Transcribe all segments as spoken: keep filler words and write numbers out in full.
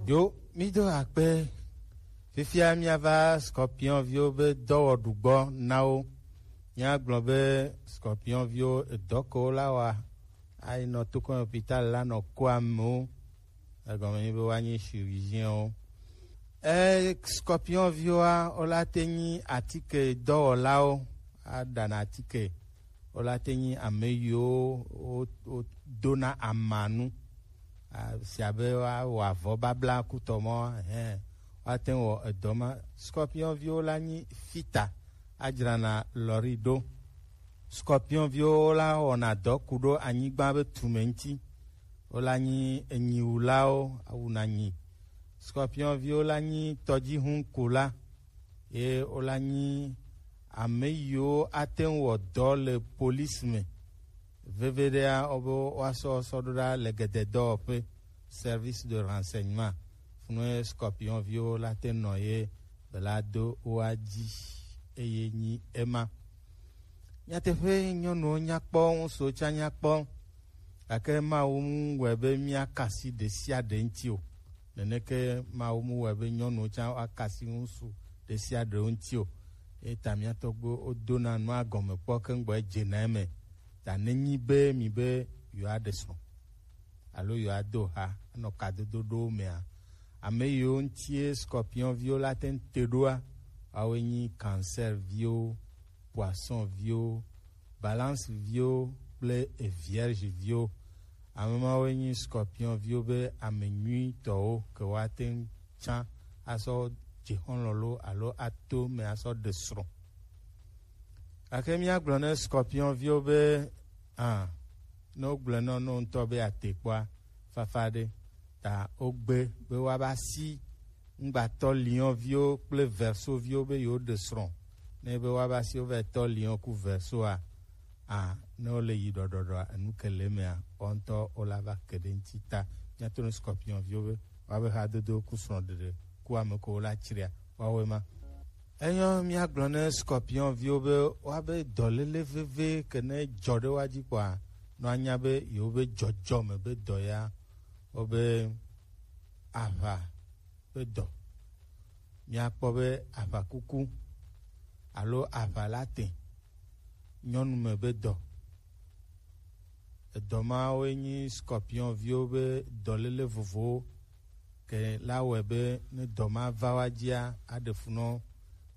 Yo, mi do akpe. Fifia miava Scorpion viwo be dɔwɔɖugbɔ na wo. Míagblɔ be Scorpion viwo edɔ ke wola wa, ayi nɔ tokɔn hôpital la nɔ ko amewo. Egɔme nyi be woanyi chirurgien wo. E Scorpion viwoa, wola te nyi atike dɔwɔlawo, aɖana atike. Wola te nyi ame yiwo wo- wodona amanu, a- si abe woawɔ avɔ babla kutɔ mɔ, hɛn, woate ŋu wɔ edɔ ma. Scorpion viwo la nyi fita, adzrana lɔri ɖo. Scorpion viwo la wɔna dɔ ku ɖo anyigba be tume ŋuti. Wola nyi enyiwulawo, awuna nyi. Scorpion viwo la nyi tɔdzihun kula, ye wola nyi ame yiwo ate ŋu wɔ dɔ le police me. Veviɖea, wobe woasɔ sɔ ɖo ɖa le gededɔwɔƒe, service de renseignement. Funue Scorpion viwo la te nɔ ye bela do woa dzi, eye nyi ema. Nyateƒe, nyɔnuwo nyakpɔ, ŋutsuwo tsã nyakpɔ, gake Mawu mu wɔe be míakasi ɖe sia ɖe ŋuti o. Neneke Mawu mu wɔe be nyɔnuwo tsã woakasi ŋutsu ɖe sia ɖe ŋuti o. Eta mía tɔgbuiwo wodona nua gɔme kpɔ keŋgbɔ edzena eme. Ta nenyi be mi be yewoaɖe srɔ̃ alo yewoado ha anɔ kadodo ɖowo mea, ame yiwo ŋutie Scorpion viwo la te ŋu te ɖoa, woawoe nyi Cancer viwo, Poisson viwo, Balance viwo kple Vierge viwo. Ame mawoe nyi Scorpion viwo be ame nyuitɔwo ke woate ŋu tsã asɔ dze xɔlɔ̃ lo alo ato me asɔ ɖe srɔ̃. Gake míagblɔ ne Scorpion viwo be, ah, ne wogblɔe nɔ no ŋutɔ be ate kpɔa, fafa ɖe. Ta wogbe be woava si ŋgbatɔ Lion viwo kple Verseau viwo be yewoɖe srɔ̃. Ne be woava si wova tɔ Lion ku Verseau a, a ne wole yi ɖɔɖɔɖɔa, enu ke le emea, woawo ŋutɔ wola va ke ɖe ŋuti. Ta míato ne Scorpion viwo be woabe hadodo ku srɔ̃ɖeɖe ku ame ko wola tsria, woawoe ma. Enyɔ, míagblɔ ne Scorpion viwo be woabe dɔléle veve ke ne dzɔ ɖe woa dzi kpɔa, nɔ anya be yewobe dzɔdzɔme be dɔ ya, wobe aʋa be dɔ. Míakpɔ be aʋakuku alo aʋa la te, nyɔnume be dɔ. Edɔ mawoe nyi Scorpion viwo be dɔléle vovowo. Ke la wɔe be ne dɔ ma va woa dzia, aɖe fu nɔ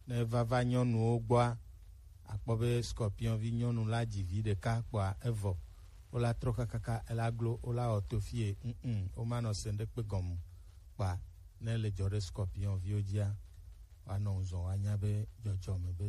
ne vava nyɔnuwo gbɔa, akpɔ be Scorpion vi nyɔnu la dzi vi ɖeka kpɔa, evɔ. Wola trɔ kakaka, ela glo, wola wɔ to fie, mm, womanɔ se ŋɖekpe gɔme kpa. Ne le dzɔ ɖe Scorpion viwo dzia, woanɔ ŋuzɔ woanya be dzɔdzɔme be